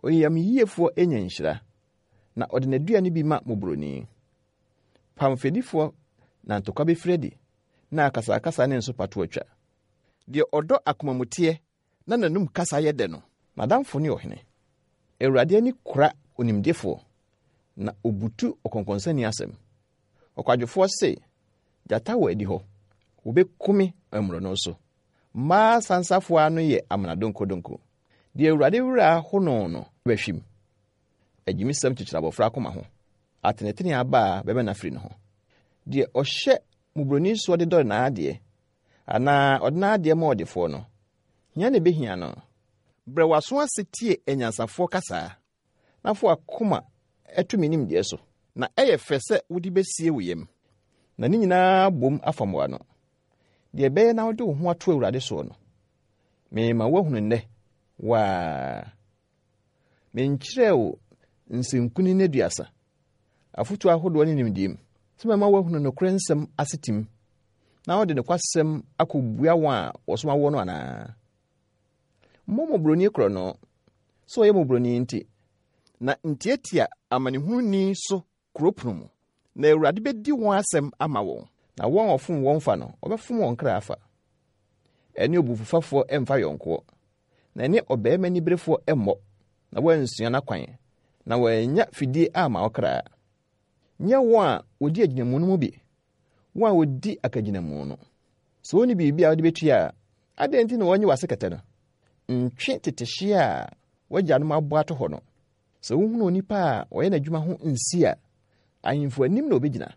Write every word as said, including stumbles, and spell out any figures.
Oyamyiefoɔ nya nhyira, na ɔde n'aduane bi ma mmɔborɔni. Pam fɛdifoɔ na ntɔkwa bɛfiri adi, na akasakasa ne nsopa to atwa. Deɛ ɔdɔ akomamuteɛ na n'anum kasa yɛ dɛ no, n'adamfo ne ɔhene. Awurade ani kora onimdefoɔ, na obutu ɔkɔnkɔnsani asɛm. Ɔkwadwofoɔ se, gyata wɔ adi hɔ, wɔbɛku me mmorɔno so. Mmaa sansafoɔ ano yɛ amena donkodonko. Deɛ Awurade werɛ aho no no bɛhwim. Agyimisɛm kyekyere abɔfra akoma ho. Atenetene aba a bɛbɛ no afiri ne ho. Deɛ ɔhyɛ mmɔborɔni soɔ de dɔre n'adeɛ, anaa ɔde n'adeɛ ma ɔdefoɔ no, hia na ɛbɛhia no. Brɛ w'aso ase tie anyansafoɔ kasaa, na fa w'akoma ɛto me nimdeɛ so. Na ɛyɛ fɛ sɛ wode bɛsie wo yam, na ne nyinaa bom afam w'ano. Deɛ ɛbɛyɛ na wode wo ho ato Awurade soɔ no, mema woahunu nnɛ, waa. Menkyerɛɛ wo nsɛnkunini aduasa, afotuo ahodoɔ ne nimdeɛ mu, sɛ mɛma woahunu nokorɛ nsɛm asetim, na wode nokwasɛm akɔbua wɔn a wɔsoma woɔ no anaa? Mmɔ mmɔborɔni korɔ no, sɛ ɔyɛ mmɔborɔni nti, na ntiatia amanehununi so kuro pono mu, na Awurade bɛdi wɔn asɛm ama wɔn, na wɔn a ɔfom wɔn fa no, ɔbɛfom wɔn kra afa. Ɛne obufufafoɔ ɛmfa yɔnkoɔ, na ɛne ɔbarima niberefoɔ ɛmmɔ, na wɔansua n'akwan, na wɔannya fidie ama wo kra. Nyɛ wɔn a wɔdi agyinamu no mu bi, wɔn a wɔdi akagyinamu no. Sɛ wonni biribi a wode bɛtua a, adɛn nti na wɔnye w'ase kɛtɛ no? Ntwe tetehyeɛ a w'agyanom abɔ ato hɔ no. Sɛ wohunu onipa a ɔyɛ n'adwuma ho nsi a, ahemfo anim na obɛgyina.